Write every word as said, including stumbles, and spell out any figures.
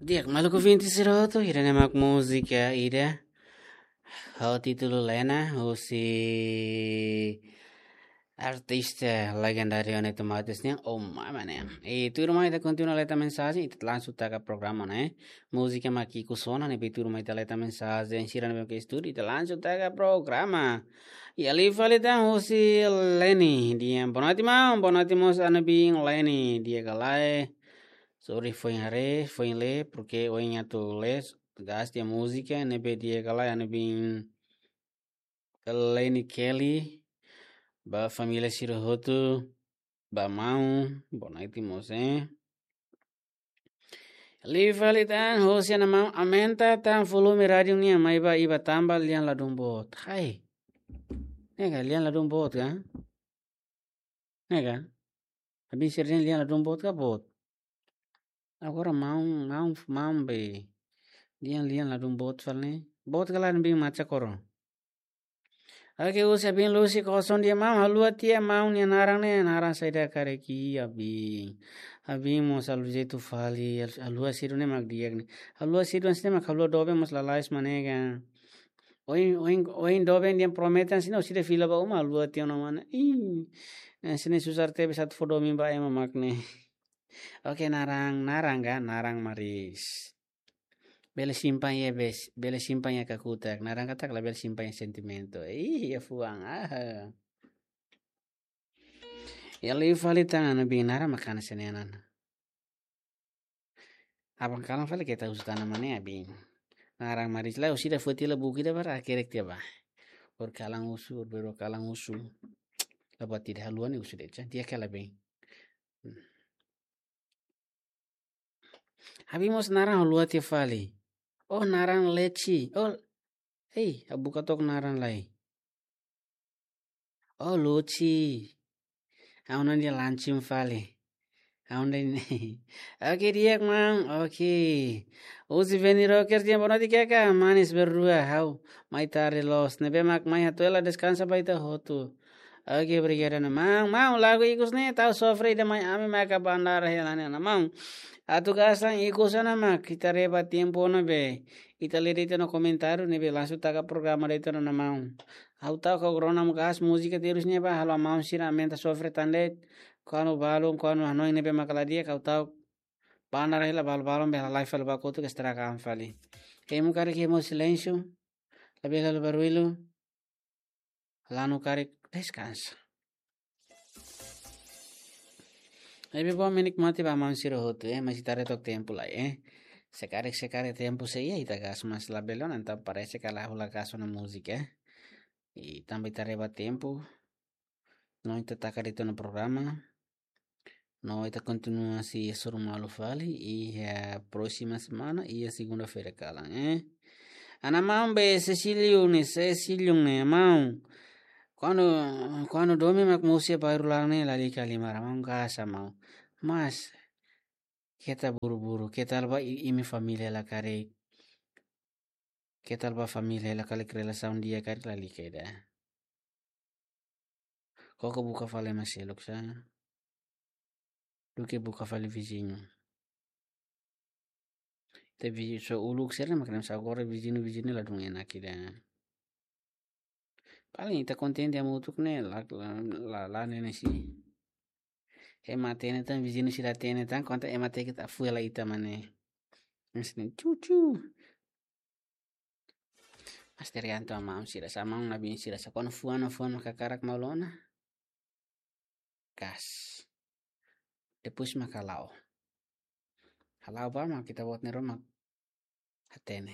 Di'ak, maluk ouvinte sira hotu, ida-ne'e mak múzika ida ho títulu Lena, husi artista legendáriu Neto Matos nian, oh mama nian. I tuirmai ita kontinua leta mensajen, ita langsung taka programa ne'e. Múzika mak ikus ona ne'ebé tuirmai ita leta mensajen, sira ne'ebé ke estúdiu, ita langsung taka programa. I alin fali tan husi Leni, dehan boa noite maun, boa noite mós ami-nia biin Leni, di'ak ka lae. Sorry, foin haree, foin lee, porque ohin atu lee, gás tiha múzika, ne'ebé di'ak ka lae, ami-nia biin Leni Kelly, ba família sira hotu, ba maun, boa noite mós, eh. Alin fali tan, husi ana maun, aumenta tan volume rádiu nian, mai ba iba tanba lian ladún boot. Hai. Ne'e ka, lian ladún boot ka? Ne'e ka? Ami-nia sira dehan lian ladún boot ka boot. Agora maun, maun, maun be. Dehan lian ladún boot fali ne'e. Boot ka lae, ami-nia biin Macha Koro. Oke, husi ami-nia Lucy Koson dehan maun, haluha tiha maun nia naran ne'e, naran saida karik iha biin. Ami-nia biin mós haluha jeitu fali, hal-, haluha seidauk ne'e mak di'ak ne'e. Haluha seidauk hanesan ne'e mak haluha doben mós lalais mak ne'e ka. Ohin, ohin, ohin doben dehan promete hanesan ne'e, orsida fila ba uma, haluha tiha ona mak ne'e. Ih, hanesan ne'e susar tebes atu fó domin ba ema mak ne'e. Oke, naran, naran ka, naran Maris. Bele simpan iha bes, bele simpan iha kakutak. Naran katak labele simpan iha sentimentu. Ih, iha fuan, aha. I alin fali tan ami-nia biin naran mak hanesan ne'e ona. Aban kalan fali keta husu tan mak ne'e ami-nia biin. Naran Maris lae, orsida foti la buki da bara kerek tiha ba. Ohin kalan husu, ohin balu kalan husu. Lapa tidak haluha ne'e husu de'it, di'ak ka lae biin. Hmm. Ami mós naran haluha tiha fali. Oh, naran Leci. Oh, hei, ha'u buka took naran lai. Oh, Luci. Ha'u-nia naran Lancim fali. Ha'u-nia naran. Oke, di'ak maun. Oke. Husi Veni Rocker dehan boa noite, Keka. Manis berdua. Ha'u mai tarde loos. Ne'ebé mak mai hato'o hela deskansa ba ita hotu. Oke, obrigadu, ana maun. Maun, lagu ikus ne'e tau sofre ida mai ami maka bandar hela ne'e, ana maun. Atu gás tan ikus ona mak, ita reba tempu ona be. Ita lee de'it ona komentáriu ne'ebé langsung taka programa de'it ona, ana maun. Ha'u ta'uk agora ona mak gás múzika terus ne'e ba, halo maun sira aumenta sofre tan de'it. Kuandu balun, kuandu hanoin ne'ebé maka la di'ak, ha'u ta'uk bandar hela, balu-balun be halo live fali ba kotuk, estraga an fali. Hemu karik hemu silénsiu, labele halo barullu. Lanu karik deskansa. Ne'ebé bom, menikmati ba maun sira hotu, eh, mais ita haree took tempu lai, eh. Se karik, se karik tempu sei iha, ita gás, mas labele ona, entaun parese katak ha'u la gás ona múzika, eh. I tanba ita reba tempu, no ita taka de'it ona programa. No ita kontinua sei hasoru malu fali iha próxima semana, iha segunda-feira kalan, eh. Ana maun be Cecílio ne'e, Cecílio ne'e, maun. Kuandu, kuandu domin mak mosu iha bairru laran ne'e lalika liman, maun gás, maun. Mas, keta buru-buru, keta ba i-, imi família hela karik. Keta ba família hela karik, relasaun di'ak karik lalika ida. Koko buka fali ema seluk sá, duké buka fali viziñu. Ita viziñu só uluk sira mak ne'e, sá, agora viziñu, viziñu ladún enak ida. Paling ita kontente hamutuk ne'e, la, la, la, la ne'e ne'e si. Ema hatene tan, viziñu sira hatene tan, konta ema hateke ita fui la ita mak ne'e. Mas ne'e cucu. Mas tergantung maun sira, sá maun-biin sira, sá kuandu fuan, fuan maka hakarak malu ona. Gás. Depois maka hala'o. Hala'o ba mak ita-boot nia ruma hatene.